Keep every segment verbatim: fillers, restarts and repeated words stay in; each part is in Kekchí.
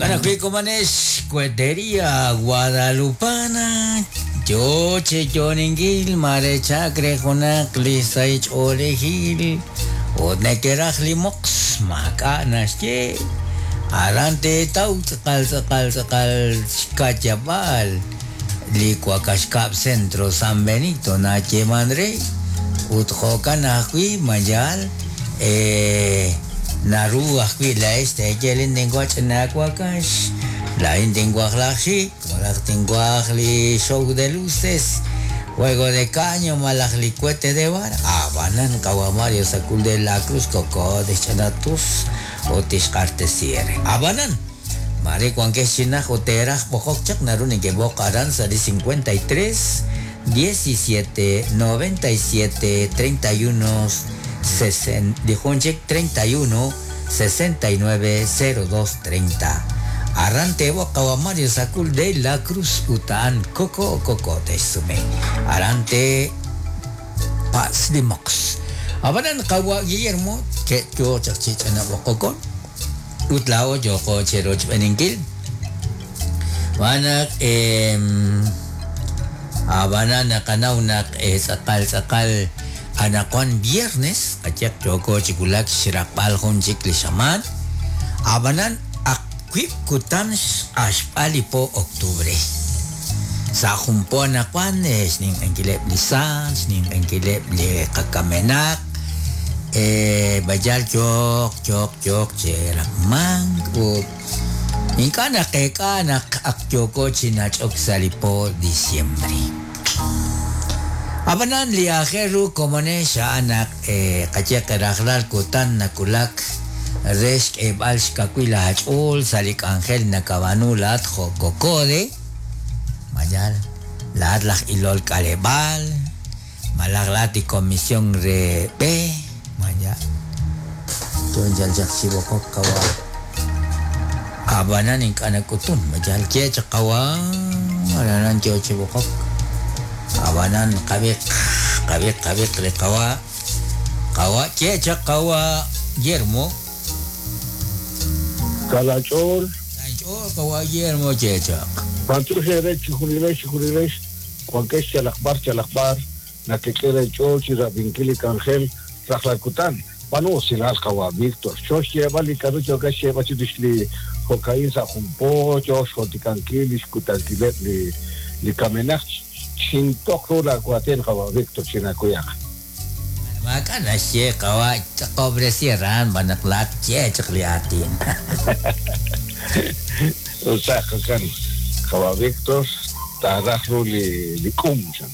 Jo'kan ajwi' komonex Cuetería Guadalupana yo che yoningil mare chakre junaq li saych'oolejil ut nekeraj li moqs maak'a' naxye aran teetaw tz'aqal tz'aqal tz'aqal xka'yab'aal li Cuacaxcab Centro San Benito nayeeman re ut jo'kan ajwi' mayal eh, naru ajwi' laa'ex teeyelin tinwaj ch'ina wakax laa'in tinwaj laj xik malaj tinwaj li show de luces juego de caño malaj li cohete de vara abanan qawa Mario Sacul de la Cruz koko ch'ina tus ut tixq'artesi ere abanan mare wankex chinaj ut teeraj b'oqok chaq naru nekeb'oq aran sa' li cincuenta y tres diecisiete noventa y siete treinta y uno sesen, dijo un check treinta y uno sesenta y nueve cero dos treinta. Arrante boca Mario Sacul de la Cruz Utan Coco Coco Tesume. Arante Paz Limox. Abanan kawa Guillermo que yo chachich ana bokokon. Utlao yo ko cheroch beninkil. Wanak em abanan nakanaw nak eh sakal sakal anakwan viernes kachak choko chikulak xiraqb'al jun chik li xamaan abanan akwib kutan axp'al po octubre sa jumpo anakwan xnin enkileb li san xnin enkileb li qakamenaq eh bayal chok chok chok cheraqman ut ink'a' naqeek'a naq ak yoko chinach'ok sa li po diciembre. Abanan li ajeru komonex anak eh, qayeq rajlal kutan nakulak rex k'eeb'al xkawil aach'ool sa li k'anjel nakab'anu laat jo' kokode mayal laat laj ilol k'aleb'aal malaj laat li comisión re B mayal tunjal chaq xib'oqok qawa abanan ink'a' nak'utun mayal kye chaq qawa aranan yo chib'oqok abanan qabiq qabiq qabiq li qawa qawa kye chaq qawa Guillermo Kalach'ool Kalach'ool qawa Guillermo kye chaq Pantuxe chijunilex chijunilex wankex chalaqb'ar chalaqb'ar nakek'e ch'ool chirab'inkil li k'anjel rajlal Banu usilal qawa Víctor xox xyeeb'al li k'aru yo'ka xyeeb'al chirix li jo'ka'in sa' jumpo yo'x jo'tikankil li xkutankileb' li li kamenaq xintoq ru la kuaten qawa Víctor chinakuyaq maak'a' naxye qawa qobre sierran banaq laat kye chaq li aatin usaq kan qawa Víctor taaraj ru li li k'um chan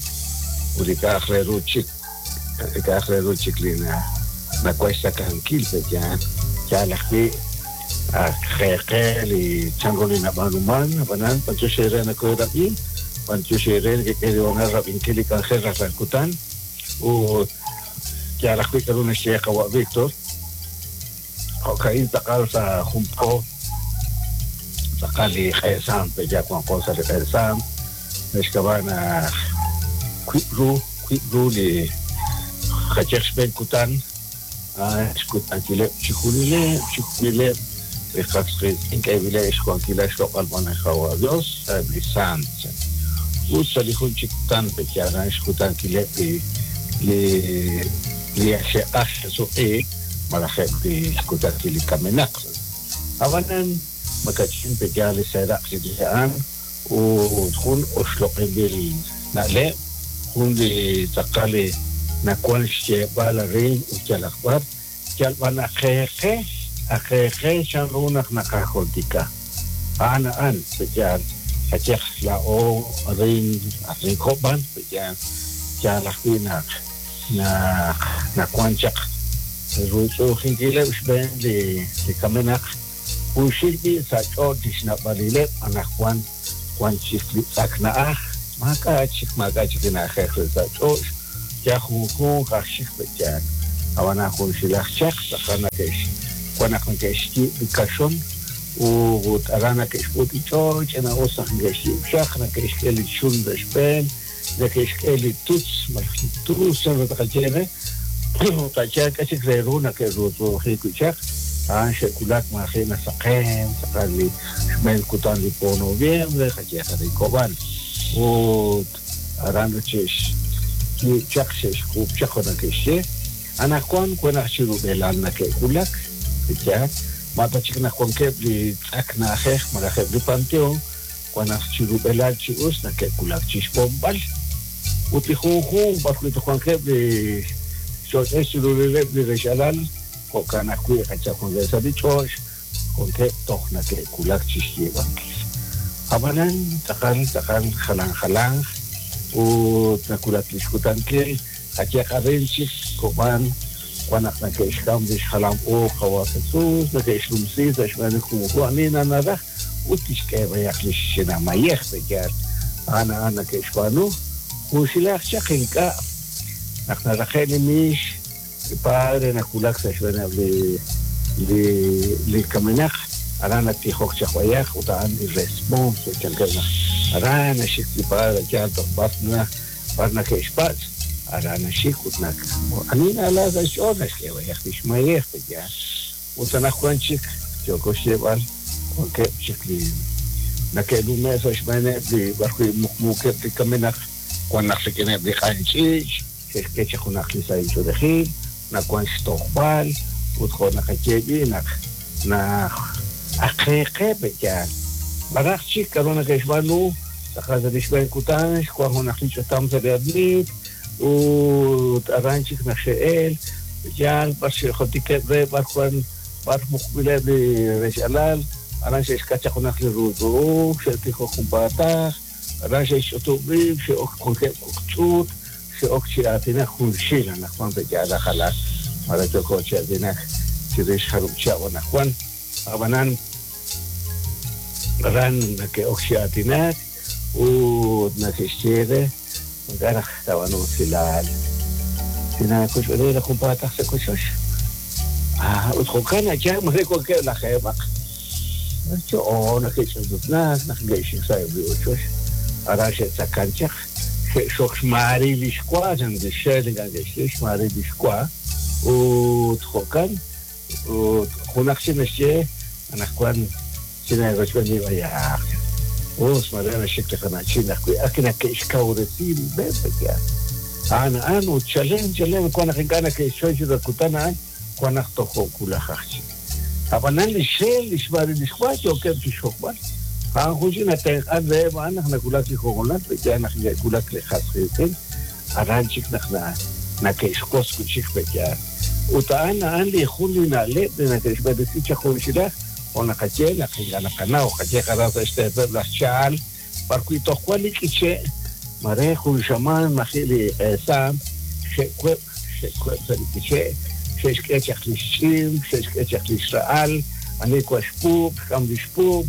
ut li k'a'aq re ru chik li k'a'aq re ru chik li na nakuesta kankil pe ya ya lajwi qeqe li chan ru li nab'aanuman ab'anan pancho xere nakuyrab'in pancho xere que quedó rab'inkil li k'anjel rajlal kutan ut ya lajwi k'aru naxye qawa Víctor jo'ka'in tz'aqal sa' jumpo tz'aqal li q'eesam pe ya wanqo sa' li q'eesam naxk'ab'a' naq kwib' ru kwib' ru li qacheq xb'een kutan xkutankileb' chijunileb' chijunileb' li qas qiitz'in k'eeb'ileb' xwankilal xloq'al qawa Dios eb' li sant ut sa' li jun chik kutan pe yaran xkutankileb' li li li xe'q'aj xesuq'iik malaj eb' li xkutankil li kamenaq ab'anan makach'in pe ya li seeraq chirix a'an ut jun oxloq'inb'il na'leb' jun li tz'aqal li nakuan xyeeb'al arin ut yalaq b'ar yalb'an aqeeqe aqeeqe chan ru naq naqajoltika a'an a'an pe yaal qacheq la'o arin arin jo'b'an pe yaal yaal ajwi' naq naq nakuan chaq rutz'ujinkileb' xb'een li li kamenaq junxil b'i' sa' ch'och' li xnab'alileb' anaqwan wan chik li tz'ak na'aj maak'a' chik maak'a' chik li na'ajej re sa' ch'och' ya junjunq aj xik pe yaal ab'anan junxilaj chaq tz'aqal nake'x wan naq neke'xyiib' li kaxon ut aran nake'xk'ut li ch'och' ch'ina'us naq neke'xyiib' xaq nake'xk'e li xul sa' xb'een neke'xk'e li tutz malaj li tus chan ru taqaye re taqaye k'a chik re ru nake'rutz'uuji wi' chaq a'an xe'kulak maaji' nasaqen tz'aqal li xb'een kutan li po noviembre qayeeq arin Kob'an ut aran xe'xyiib' chaq xe'xk'uub' chaq jo' nake'xye anaqwan wan naq chi rub'elal nake'wulak yaal ma ta chik naq wankeb' li tz'ak na'ajej malaj eb' li panteon wan naq chi rub'elal chi us nake'wulak chi xb'onb'al ut li junjunq b'ar wi' wankeb' li xch'och'el chi rub'eleb' li rexalal jo'kan ajwi' qachaq wankeb' sa' li ch'och' wankeb' toj nake'wulak chi xyiib'ankil ab'anan tz'aqal tz'aqal jalan jalan ut nawulak li xkutankil qayeeq arin chik Kob'an wan naq nake'xk'am li xjalam u qawa' Jesús nake'xnumsi sa' xb'een li junjunq ani nanaraj ut tixk'e b'ayaq li xch'inamayej yaal a'an a'an nake'xb'aanu junxilaj chaq ink'a' naq naraqe' li miix li padre nawulak sa' xb'eeneb' li li li kamenaq aran natijok chaq b'ayaq ut a'an li responso chankeb' naq aran naxik li padre yaal toj b'ar na b'ar nake'xpatz' aran naxik ut nak ani na'ala sa' xch'ool naxk'e b'ayaq li xmayej yaal ut anaqwan chik yooko xyeeb'al wankeb' chik li nake'lume' sa' xb'eeneb' li b'ar wi' muqmuukeb' li kamenaq wan naq rik'ineb' li q'anch'iich' xe'xk'e chaq junaq li sahil ch'oolejil nawan xtojb'al ut jo' naqayeeb'i naq naq aqeeqeb' yaal b'araj chik k'aru nake'xb'aanu tz'aqal sa' li xb'een kutan xwan junaq li ch'utam sa' li admit ut aran chik naq xe'el yaal b'ar xe'jotikeb' re b'ar wan b'ar muqb'ileb' li rexalal aran xe'xk'at chaq junaq li ruutz'u'uj xe'tijok junpaataq aran xe'xch'utub' rib' xe'ok wankeb' kok' ch'uut xe'ok chi aatinak junxil anaqwan pe' yaal ajalal mara yooko chi aatinak chirix jarub' chihab' anaqwan ab'anan aran nake'ok chi aatinak ut nake'xye re ink'a' naq taab'aanu usilal tinakuch'b'eni raj junpaataq sa' kochoch ah ut jo'kan yaal mare wankeb' lajeeb'aq cho'o nake'ch'ututnak naq neke'xik sa'eb' li ochoch aran xe'tzakan chaq xe'xok xmaari li xwa chan li xel ink'a' neke'xye xmaari li xwa ut jo'kan ut junaq chik naxye anaqwan chinarochb'eni b'ayaq us mare naxik li qana'chin ajwi' ak nake'xkawresi rib'eb' yaal a'an a'an ut chalen chalen wan naq ink'a' nake'xchoy chiru kutan a'an wan naq toj jo'wulaj aj chik ab'anan li xel li xmaari li xwa yookeb' chi xxokb'al a'an jun chik natenq'an reheb' a'an naq nawulak li jo'gonal yaal naq neke'wulak li qas qiitz'in aran chik naq nake'xkos wi' chik yaal ut a'an a'an li jun li na'leb' li nake'xb'eresi chaq junxilaj jo' naqaye naq ink'a' naqanaw qayeeq aran sa' xteepeb' laj Chaal b'ar wi' toj wan li k'iche' mare jun xamaan maji' li q'eesaam xe'web' xe'web' sa' li k'iche' xe'xk'e chaq li xch'im xe'xk'e chaq li xra'al ani wan xpuub' xk'am li xpuub'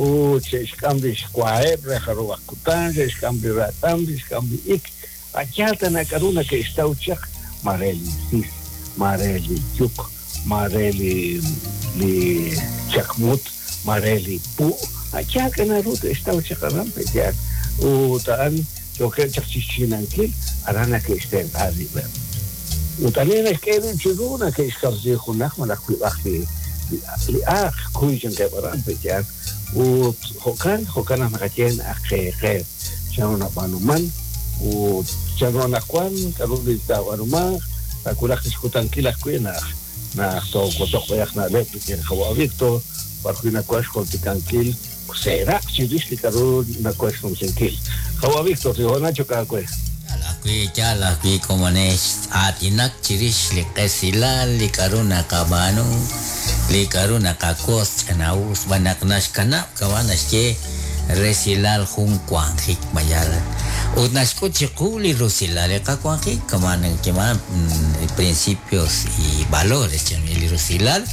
ut xe'xk'am li xwaeb' re jarub'aq kutan xe'xk'am li ratam xe'xk'am li ik a'yaal tana k'aru nake'xtaw chaq mare li sis mare li yuk mare li li chakmut mare li pu' a'yaal k'anaru te'xtaw chaq aran pe' yaal ut a'an yookeb' chaq chi xchinankil aran nake'xtenq'a rib'eb' ut ani naxk'e rib' chiru nake'xkamsi junaq malaj wib'aj li li aaq kuy chankeb' aran pe' yaal ut jo'kan jo'kan naq naqaye aqeeqe chanru nab'aanuman ut chanru anaqwan k'aru li taab'aanumanq taawulaq li xkutankil ajwi' naq naq toowotoq b'ayaq na'leb' rik'in qawa' Víctor b'ar wi' nawan xjultikankil seeraq chirix li k'aru nawan xnumsinkil qawa' Víctor li hoonal chok aawe yaal ajwi' yaal ajwi' komonex aatinak chirix li qesilal li k'aru naqab'aanu li k'aru naqakos ch'ina'us b'an naq naxkanab' kama' naxye resilal jun wanjik mayal ut naxk'ut chiqu li rusilal li qawanjik kama' nake'man principios y valores chan li rusilal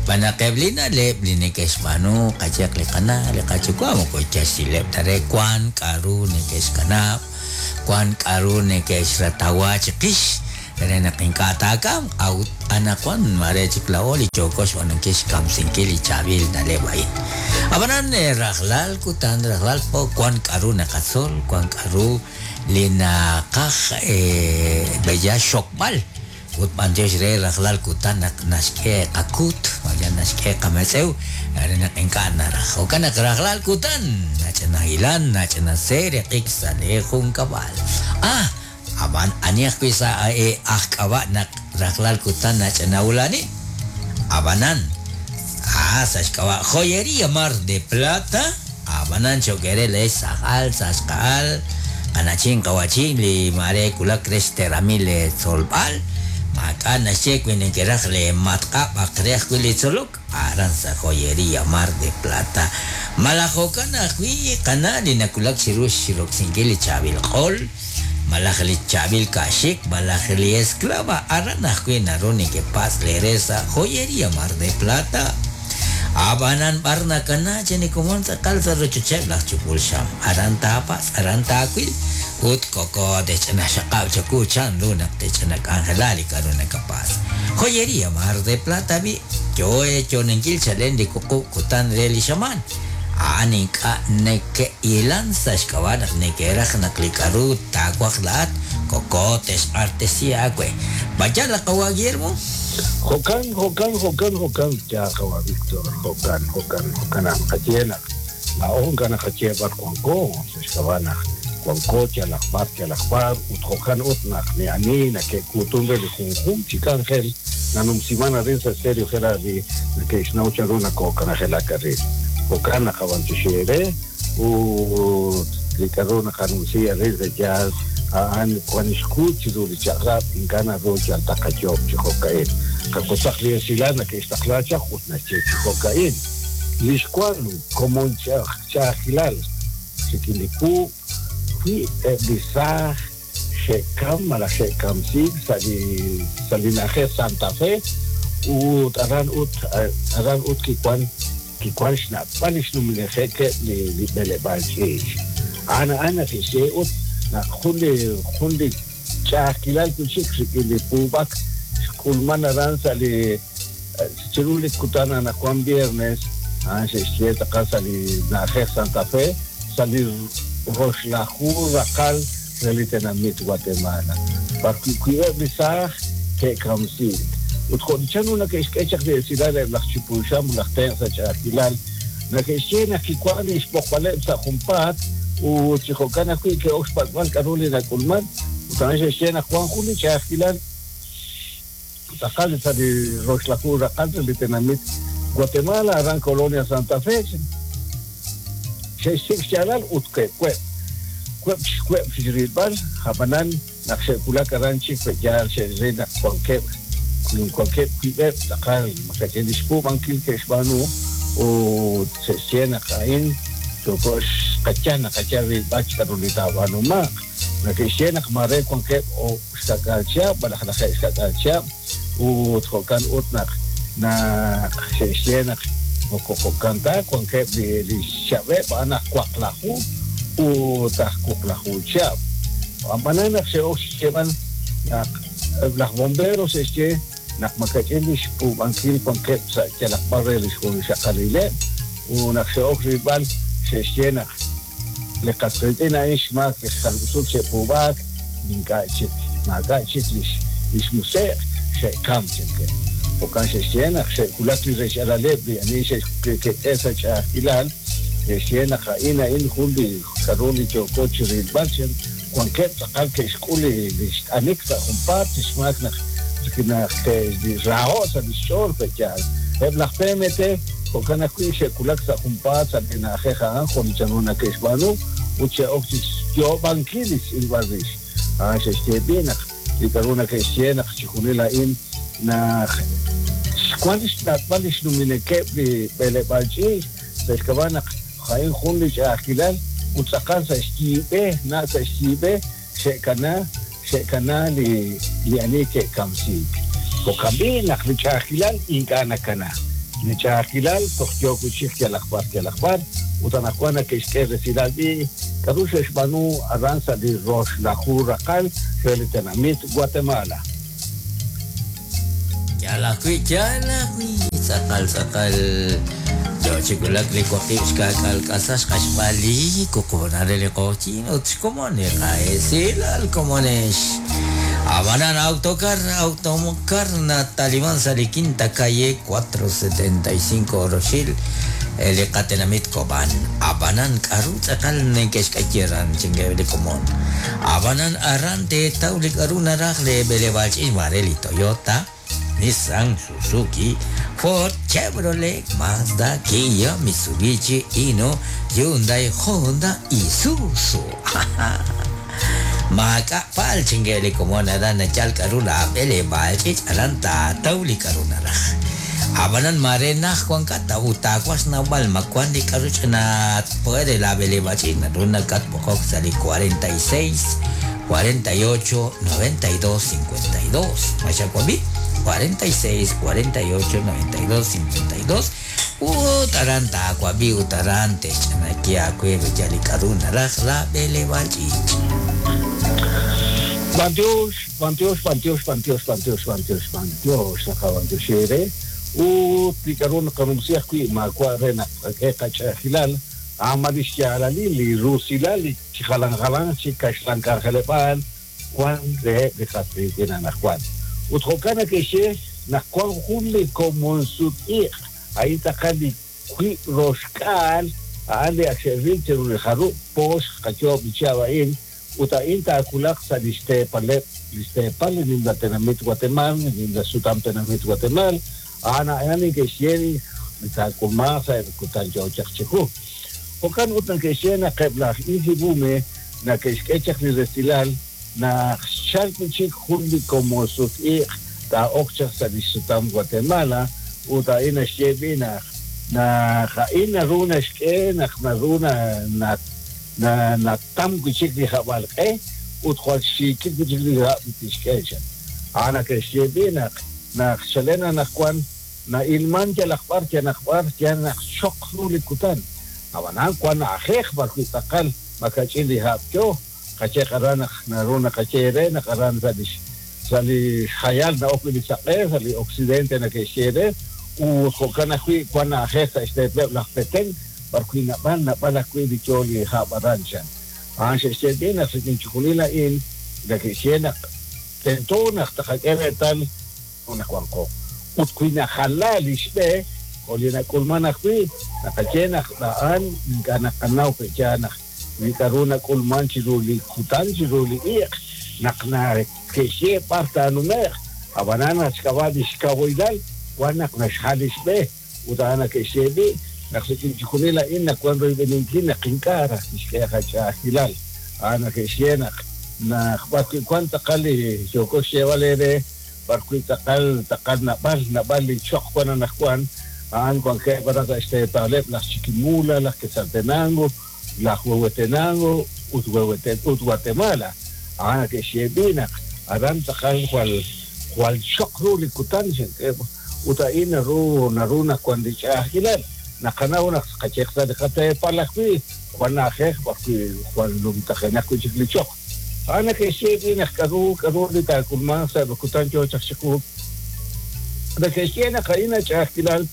b'an naq eb' li na'leb' li neke'xb'aanu qayeq li qana' li qayuwa' moko yaxileb' ta re wan k'aru neke'xkanab' wan k'aru neke'xratawa chiqix re naq ink'a' taakamq a'ut anaqwan mare chik laa'o li yooko xb'aanunkil xkamsinkil li chaab'il na'leb' a'in ab'anan rajlal kutan rajlal po wan k'aru naqatzol wan k'aru li naqaj b'eya xokb'al Ut b'antiox re rajlal kutan naq naxk'e qakut, vaya naxk'e qametz'ew, re naq ink'a' naraj. Jo'kan naq rajlal kutan, nach'ina hilan, nach'ina seeriqik sa' le junkab'al. Ah, ab'an ani ajwi' sa' e aj k'ab'a' naq rajlal kutan nach'ina ulani. Ab'anan, ah, sa' xk'ab'a' Joyería Mar de Plata, ab'anan cho'kere le sajal, sa' xqa'al, qanachin qawachin li mare kulak re xteramil le tzolb'al, maak'a' naxye wi nekeraj le matq'ab' aq re ajwi' li tzolok, aran sa' Joyería Mar de Plata. Malaj jo'kan ajwi' qana' li nakulak chiru xiroksinkil li chaab'il q'ol, malaj li chaab'il ka'xik, malaj li esclava, aran ajwi' naru nekepatz' le re sa' Joyería Mar de Plata. Ab'anan b'ar nakana chenikomon tz'aqal sa' rochocheb' laj chupul xam, aran taapatz', aran taawil, ut koko tech'ana xaqab' chaku chan ru naq tech'ana k'anjela li k'aru nakapatz'. Joyería Mar de Plata bi, yo chonenkil chalen li kuqub' kutan re li xamaan. A'an ink'a' neke'ilan sa' xk'ab'a' naq neke'raj naq li k'aru taawaj laat, koko texq'artesi aawe. Vaya la qawa Guillermo. Jo'kan, jo'kan, jo'kan, jo'kan, ya qawa Víctor, jo'kan, jo'kan, jo'kan, naqaye naq laa'o ink'a' naqaye b'ar wanko, sa' xk'ab'a' naq wanko yalaq b'ar, yalaq b'ar, ut jo'kan ut naq ni ani nake'kuutun re li junjunq chi k'anjel nanumsiman arin sa' serio jera li nake'xnaw chanru nakookananjelak arin. Jo'kan naqab'antioxi re ut li k'aru naqanumsi arin sa' yaal a'an wan xkuut chiru li chaq'rab' ink'a' naru yal taqayoob' chi jo'ka'in. Qak'osaq li esilal nake'xtaqla chaq ut naxye chi jo'ka'in. Li xwan komon ch'a'ajkilal rik'in li puub' wi eb' li saaj xe'kam malaj xe'kamsiik sa' li sa' li na'ajej Santa Fe ut aran ut aran ut kiwan kiwan xna'b'al li xnumilejekeb' li li b'eleb'aal ch'iich'. A'an a'an nake'xye ut naq jun li jun li ch'a'ajkilal wi' chik rik'in li puub'ak xk'ulman aran sa' li chiru li kutan anaqwan viernes, a'an xe'xye tz'aqal sa' li na'ajej Santa Fe, sa' li roxlaju raqal re li tenamit Guatemala. B'ar wi' li saaj ke'kamsiik. Ut jo' chan ru nake'xk'e chaq li esilal eb' laj chupul xam laj tenq' sa' ch'a'ajkilal, nake'xye naq kiwan li xb'oqb'aleb' sa' junpaat ut chi jo'kan ajwi' ke'ok xpak'b'al k'aru li nak'ulman, ut a'an xe'xye naq wan jun li ch'a'ajkilal tz'aqal sa' li roxlaju raqal re li tenamit Guatemala, aran Colonia Santa Fe. Xe'xsik' xyaalal ut ke'web'. Web' xweb' rilb'al, ab'anan naq xe'wulak aran chik pe'yaal xe'ril naq wankeb' wankeb' wib'eb' tz'aqal makach'in li xpuub'ankil ke'xb'aanu ut xe'xye naq a'in yooko xqayan naqayan rilb'al k'aru li taab'aanumaq. Nake'xye naq mare wankeb' o xkak'al chihab' malaj lajeeb' xkak'al chihab' ut jo'kan ut naq naq xe'xye naq moko jo'kan ta wankeb' li li xchab'eb' a'an aj waqlaju ut aj wuqlaju chihab'. Ab'anan naq xe'ok xyeeb'al naq laj bombero xe'xye naq makach'in li xpuub'ankil wankeb' sa' yalaq b'ar re li xjunxaqalileb' ut naq xe'ok rilb'al xe'xye naq li qas qiitz'in a'in xmaak li xjalb'usut xe'puub'aak ink'a' chik maak'a' chik li li xmuseq xe'kam chankeb'. Jo'kan xe'xye naq xe'wulak li rech'alaleb' li ani xe'ke'k'e sa' ch'a'ajkilal, xe'xye naq a'in a'in jun li k'aru li yooko chi rilb'al chan wankeb' tz'aqal ke'xk'ul li li xt'anik sa' junpaat xmaak naq naq ke'raho' sa' li xch'ool pe'yaal. Eb' laj P M T jo'kan ajwi' xe'wulak sa' junpaat sa' li na'ajej a'an jo' li chanru nake'xb'aanu ut xe'ok chi xyoob'ankil li xtz'ilb'al rix. A'an xe'xye b'i naq li k'aru nake'xye naq chijunil a'in naq xwan li xna'b'al li xnuminekeb' li b'eleb'aal ch'iich' sa' xk'ab'a' naq a'in jun li ch'a'ajkilal ut tz'aqal sa' xyiib'e na' sa' xyiib'e xe'kana xe'kana li li ani ke'kamsiik. Jo'kan b'i' naq li ch'a'ajkilal ink'a' nakana. Li ch'a'ajkilal toj yook wi' chik yalaq b'ar yalaq b'ar ut anaqwan nake'xk'e resilal b'i' k'aru xe'xb'aanu aran sa' li roxlaju raqal re li tenamit Guatemala. Yalaq wi', yalaq wi', tz'aqal tz'aqal yo chikulak li waqib' xka'k'al k'asax q'axb'al li kuqub'an re li q'oqyin ut xkomon li qa'esilal komonex. Abanan autocar, autocar Natalimán Sali Quinta Calle cuatro setenta y cinco Rochil, el Catenamit Cobán. Abanan Karut Akal Nenkeshkayeran Chingebeli Comón. Abanan Arrante Taulik Aruna Rajle Belevach Ismareli Toyota, Nissan, Suzuki, Ford, Chevrolet, Mazda, Kia, Mitsubishi, Hino, Hyundai, Honda, Isuzu. Maka pal chingeli como nada chal karuna bele balchich aranta tauli karuna raj. Abanan marena Juan kata utacuas nawal macuandi karuchna puede la bele bachina runa cat pocok sali cuarenta y seis, cuarenta y ocho, noventa y dos, cincuenta y dos. Machacuabi cuarenta y seis, cuarenta y ocho, noventa y dos, cincuenta y dos. Utaranta acuabi utarante chanakia cueve yali karuna raj la bele bachich. Bantiox, bantiox, bantiox, bantiox, bantiox, bantiox, bantiox, acá bantiox ere. U picarón canumsias qui ma cuarena qachajilal amadishalali li rusilali chijalanjalan chicashlancarjelepal Juan de de Jatritina Juan. Utrocana que she na Juan Juli como en su ahí tacali qui roscal ale axeril cherujaru pos cacho bichaba in uta inta akulak sa listepalep listepal en la tenamit Guatemala en la sutam tenamit Guatemala ana ani que sheri ta kumasa kutan yo chakcheku okan utan que shena qebla injibume na que skechak ni restilal na chalpichik juli como sut ta okchak sa sutam Guatemala uta ina shebina na jaina runa shke na runa na na na tam kuchik ni jabalqe utkhwal shikik kuchik ni tishkecha ana que shebina na chalena na kwan na ilman ya la ya na ya na shokru likutan abanan kwan ajej barkutakal makachili hapcho kache karana na runa kache na karan salish sali khayal na okli saqe sali occidente na que shere u khokana kui kwan ajej este la peten barkuina ban na bala kui dicholi habarancha anche shedina sikinchulila in la que shena tentona taqakere tal una kwanko utkuina halal ishbe kolina kulmana kui nakachena daan kana kanau pechana mikaruna kulman chiruli kutan chiruli ik nakna keshe parta numer abanana chkabadi shkaboidal wanak nashhalishbe utana keshebi naksikinchikunila inna cuando ibeninkina qinkara ishkeja chahilal ana keshena na cuanta qali yokoshe valere barkuita taqal taqal nabal nabal choq cuan najuan an cuan que para este palep las Chiquimula las Quetzaltenango las Huehuetenango ut Huehueten ut Guatemala ana que shebina aran taqal cual cual choq ru likutan uta ina ru naruna cuando chahilal naqana una qachekta de qate palakwi cuan ajej barku cuan lumtajena kuchiklichoq ana que shebina karu karu de takulman sa kutan yo chakchiku de que shena kaina chahilal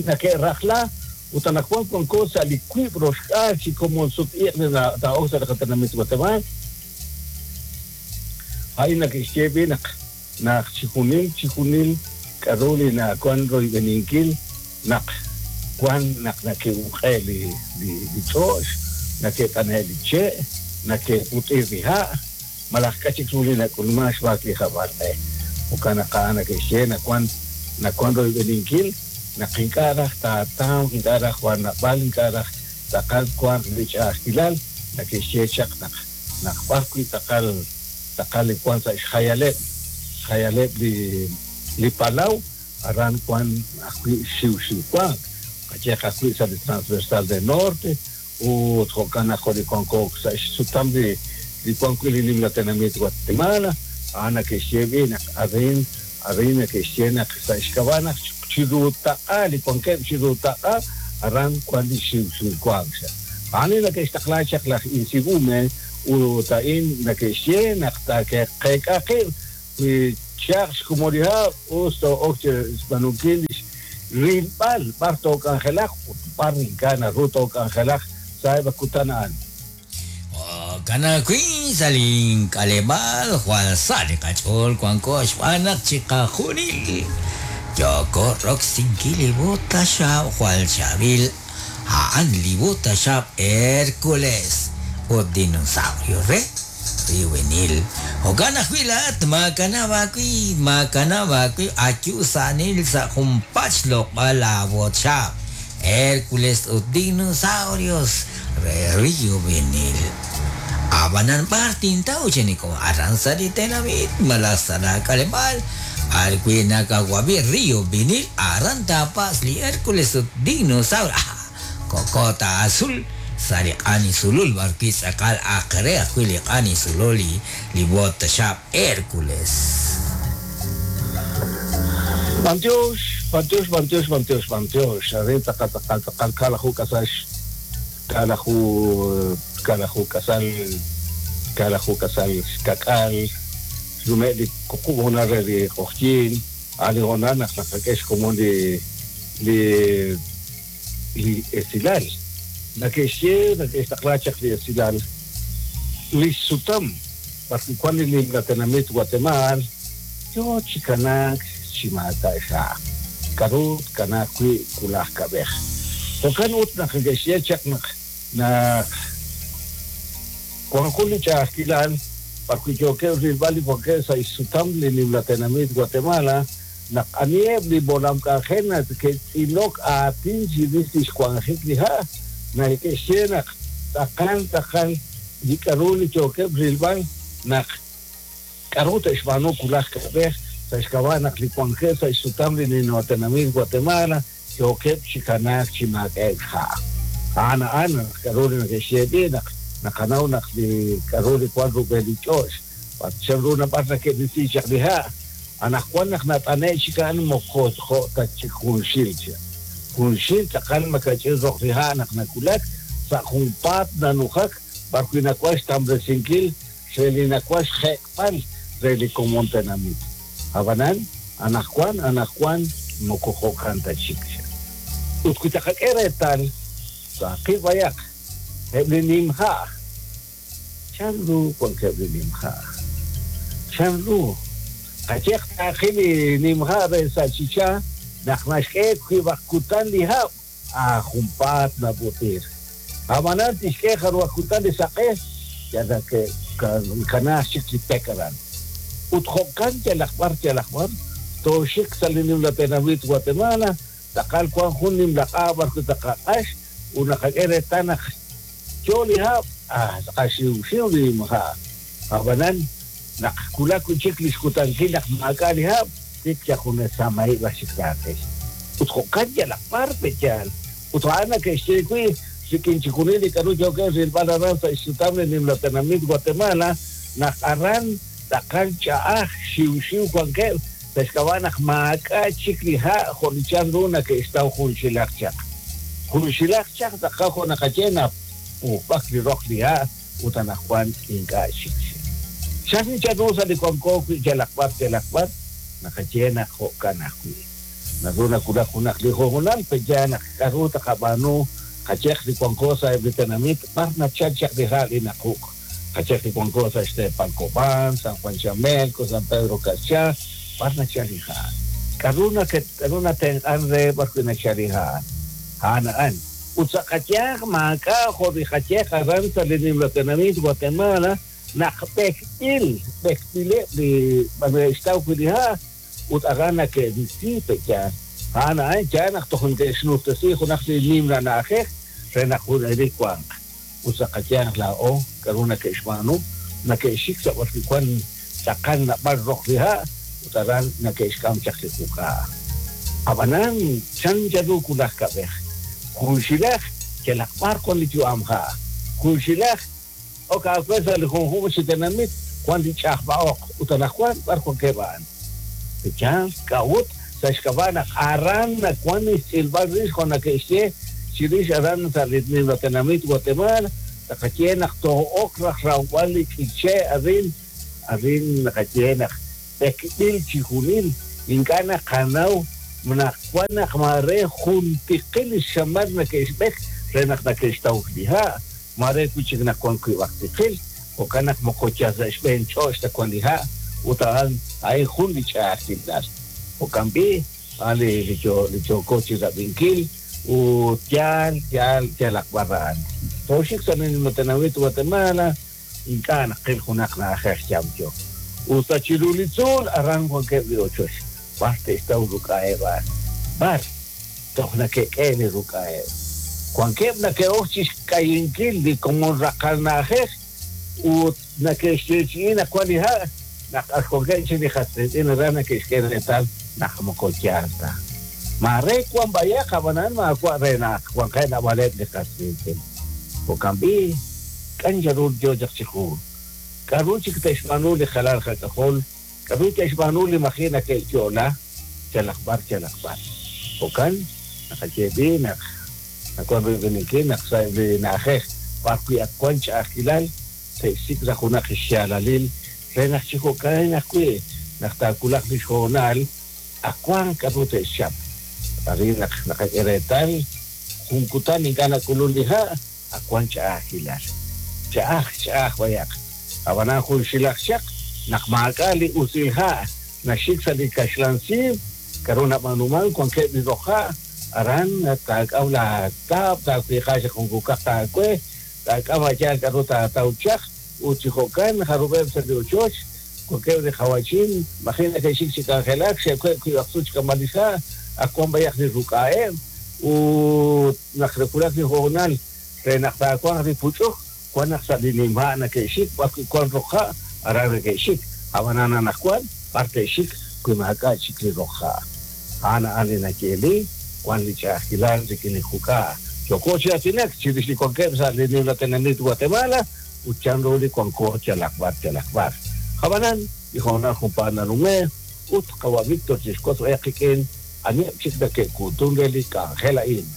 na que rajla utanajuan con cosa liquibros casi como sut na ta osa de katanamit Guatemala ahí na que shebina na chijunil chijunil karuli na cuan roibeninkil nak cuan nak na que ujeli li li chosh na que taneli che na que utirriha malakachik sulina kulmash bakli jabarne ukana kana que shena cuan na cuan roibeninkil na qinkara ta taw qinkara juan na bal qinkara taqal cuan lichahilal na que shechaq nak nak barqui taqal taqal cuan sa khayaleb khayaleb li li palau aran cuan akui xiu xiu cuan kacheja akui sa transversal del norte u tjokana jori cuan ko sa sutam de li cuan kui li la tenamit Guatemala ana que shebina arin arina que shena sa ishkabana chiruta ali cuan que chiruta aran cuan li xiu xiu cuan ani la que está chakla insigume u tain la que shena ta que que que Charles como dijo, usto oche spanukilis rimpal parto cangelaj parrincana ruto cangelaj sabe kutanaan. Jo'kan ajwi' sa' li k'aleb'aal jwal sa' li qach'ool wanko xb'aan naq chiqajunil yooko roksinkil li bota xaab' jwal chaab'il a'an li bota xaab' Hércules ut dinosaurio re Río Vinil. Jo'kan ajwi' laa'at maakanab' aawib', maakanab' aawib' ayu sa'nil sa' junpaat xloq'b'al laabot xaab' Hércules ut dinosaurios re Río Vinil. Ab'anan b'ar tintaw cheniko aran sa' li tenamit malaj sa' laak'aleb'aal b'arwi' nakawab'i Río Vinil aran taapas li Hércules ut dinosaurio. Ah, kokota azul sa' li q'ani sulul b'arwi' tz'aqal aqre ajwi' li q'ani sulul li li bota xaab' Hércules. Bantiox, bantiox, bantiox, bantiox, bantiox. Arin tz'aqal tz'aqal tz'aqal kalaju kasax kalaju kalaju kasal kalaju kasal kak'al rume' li kuqub' honal re li q'oqyin ali honal naq naqak'e xkomon li li li esilal nake'xye nake'xtaqla chaq li esilal li xsutam b'arwi' wan li nimla tenamit Guatemala yo chi kanaak chi maak'a' xha' k'aru kanaak wi' kulaj kab'ej jo'kan ut naq neke'xye chaq naq naq wan jun li ch'a'ajkilal b'arwi' yookeb' rilb'al li wankeb' sa' xsutam li nimla tenamit Guatemala naq aniheb' li molam k'anjel nake'tz'ilok aatin chirix li xwanjik li ha' nake'xye naq tz'aqal tz'aqal li k'aru li yookeb' rilb'al naq k'aru te'xb'aanu kulaj kab'ej sa' xk'ab'a' naq li wankeb' sa' xsutam li nimla tenamit Guatemala yookeb' chi kanaak chi maak'a'eb' xha'. A'an a'an naq k'aru li nake'xye b'i' naq naqanaw naq li k'aru li wan rub'el li ch'och' chan ru nab'ar nake'risi chaq li ha' anaqwan naq nat'ane' chik a'an moko jo' ta chik junxil cha junxil tz'aqal makach'il roq li ha' naq nakulak sa' junpaat nanujak b'arwi' nawan xtamresinkil re li nawan xjek'b'al re li komon tenamit. Ab'anan anaqwan anaqwan moko jo'kan ta chik cha. Ut wi taqak'e reetal saqib' bayaq eb' li nimha' chan ru wankeb' li nimha' chan ru qayeq taaqil li nimha' re sa' Chichá naq naxk'e wib'aq kutan li hab' a junpaat nab'utir. Ab'anan tixk'e jarub'aq kutan li saq'e yal kanaak chik li pek aran. Ut jo'kan yalaq b'ar yalaq b'ar tooxik sa' li nimla tenamit Guatemala tz'aqal wan jun nimla q'a b'arwi' taqaq'ax ut naqak'e reetal naq yo li hab' ah tz'aqal xiwxiw li nimha'. Ab'anan naq kulak wi' chik li xkutankil naq maak'a' li hab' tik yajunes samahib' aj chik taaqil. Ut jo'kan yalaq b'ar pe'yaal. Ut a'an nake'xye wi' rik'in chixjunil li k'aru yookeb' rilb'al aran sa' xsutam li nimla tenamit Guatemala naq aran tz'aqal ch'a'aj xiwxiw wankeb' sa' xk'ab'a' naq maak'a' chik li ha' jo' li chan ru nake'xtaw junxilaq chaq. Junxilaq chaq tz'aqal jo' naqaye naq pujb'ak li roq li ha' ut anaqwan ink'a' chik. Chan chan ru sa' li wanko wi' yalaq b'ar yalaq b'ar naqaye naq jo'kan ajwi'. Naru nakulak junaq li hoonal pe'yaal naq k'aru taqab'aanu qayeq li wanko sa' eb' li tenamit b'ar nachal chaq li ha' li naquk'. Qayeq li wanko sa' xteepal Cobán, San Juan Chamelco, San Pedro Carchá, b'ar nachal li ha'. K'aru k'aru natenq'an re b'arwi' nachal li ha'. A'an a'an. Ut sa' qayeq maak'a' jo' li qayeq aran sa' li nimla tenamit Guatemala naq b'ekb'il b'ekb'ileb' li b'arwi' wi' li ha' ut aran nake'risi pe'yaal. A'an a'an yaal naq toj neke'xnujtesi junaq li nimla na'ajej re naq junelik wanq. Ut sa' qayanq laa'o k'aru nake'xb'aanu nake'xik sa' b'arwi' wan tz'aqal nab'al roq li ha' ut aran nake'xk'am chaq li juk'a'. Ab'anan chan charu kulaj kab'ej junxilaj yalaq b'ar wan li yu'am ha' junxilaj ok aawe sa' li junjunq chi tenamit wan li ch'ajb'a'oq ut anaqwan b'ar wankeb' a'an. Pe'yaal k'a'ut sa' xk'ab'a' naq aran nawan xtz'ilb'al rix jo' nake'xye chirix aran sa' li nimla tenamit Guatemala taqaye naq too'ok raj rawb'al li k'iche' arin arin naqaye naq b'ekb'il chijunil ink'a' naqanaw naq wan naq mare juntiqil li xamal nake'xb'ek re naq nake'xtaw li ha' mare wi' chik naq wan wib'aq tiqil Jo'kan naq moko yal sa' xb'een ch'och' ta wan li ha' ut a'an a'in jun li ch'a'ajkilal. Jo'kan b'i' a'an li li yo li yooko chi rab'inkil ut yaal yaal yalaq b'ar a'an. Tooxik sa' li nimla tenamit Guatemala ink'a' naqil junaq na'ajej yamyo. Ut sa' chiru li tzuul aran wankeb' li ochoch. B'ar te'xtaw ruk'a'eb' a'an. B'ar toj nake'k'e li ruk'a'eb'. Wankeb' nake'ok chixk'ayinkil li komon raqal na'ajej ut nake'xyeechi'i naq wan li ha' naq ak wankeb' chik li qas qiitz'in aran nake'xk'e reetal naq moko yaal ta. Maare wan b'ayaq ab'anan maawa' re naq wankeb' naab'aleb' li qas qiitz'in. Jo'kan b'i' k'an yaru yo chaq chiqu. K'a'ru chik te'xb'aanu li jalal qak'ajol, k'a'ru te'xb'aanu li maji' nake'yo'la, yalaq b'ar yalaq b'ar. Jo'kan naqaye b'i' naq nawan rib'ininkil naq sa' li na'ajej b'ar wi' ak wan ch'a'ajkilal te'xsik' sa' junaq xyaalalil re naq chi jo'kan ajwi' naq taawulaq li xhoonal ak wan k'a'ru te'xchap. Arin naq naqak'e reetal jun kutan ink'a' nak'ulun li ha' ak wan ch'a'ajkilal. Ch'a'aj ch'a'aj b'ayaq. Ab'anan jun xilaj chaq naq maak'a' li usil ha' naxik sa' li kaxlan siib k'a'ru nab'aanuman wankeb' li roq ha' aran taak'aw la taab' taawiiqa chaq jun kukaq taawe taak'am a'yaal k'a'ru taataw chaq ut chi jo'kan jarub'eb' sa' li ochoch wankeb' li qawachin maji' nake'xik chi k'anjelak xe'web' wiib' aqsu chik'amb'al li ha' ak wan b'ayaq li ruk'a'eb' ut naq nawulak li hoonal re naq taawanq li puch'uk wan naq sa' li nimha' nake'xik b'ar wi' wan roq ha' aran nake'xik ab'anan anaqwan b'ar te'xik wi maak'a' chik li roq ha'. A'an a'an li nayeeli wan li ch'a'ajkilal rik'in li juk'a'. Yooko chi aatinak chirix li wankeb' sa' li nimla tenamit Guatemala ut chanru li wanko yalaq b'ar yalaq b'ar. Ab'anan li hoonal junpaat nanume' ut qawa' Víctor chixwotz b'ayaq qik'in aniheb' chik nake'kuutun re li k'anjel a'in.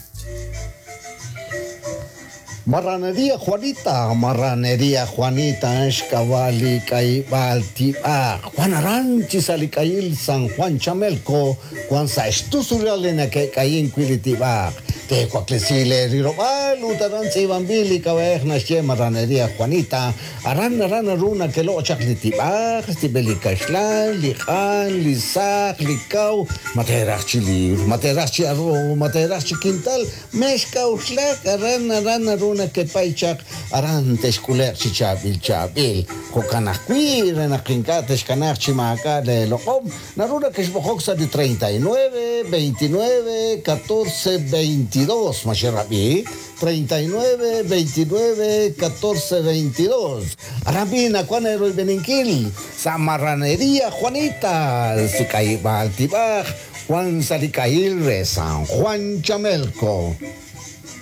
Marranería Juanita, Marranería Juanita, xk'ab'a' k'ayib'aal tib'aq. Juan Aranchi sa' li k'ayil San Juan Chamelco, Juan sa' xtusulal li nake'k'ayin wi' li tib'aq. Tewaklesi le rirob'al ut aran tz'iib'anb'il li k'ab'a'ej naxye Marranería Juanita, aran aran naru nake'loq' chaq li tib'aq, tib'el li kaxlan, li q'an, li saq, li kaw, ma teeraj chi liwr, ma teeraj chi arroz, ma teeraj chi quintal, mex k'a'uxlak aran aran naru nakepay chaq aran texk'ule'q chi chaab'il chaab'il. Jo'kan ajwi' re naq ink'a' texkanaaq chi maak'a' le loq'om, naru nakexb'oqok sa' li treinta y nueve, veintinueve, catorce, veintidós, ma xerab'i, treinta y nueve, veintinueve, catorce, veintidós. Aran b'i' nawan eroyb'eninkil sa' Marranería Juanita, si k'ayib'aal tib'aj, Juan sa' li k'ayil re San Juan Chamelco.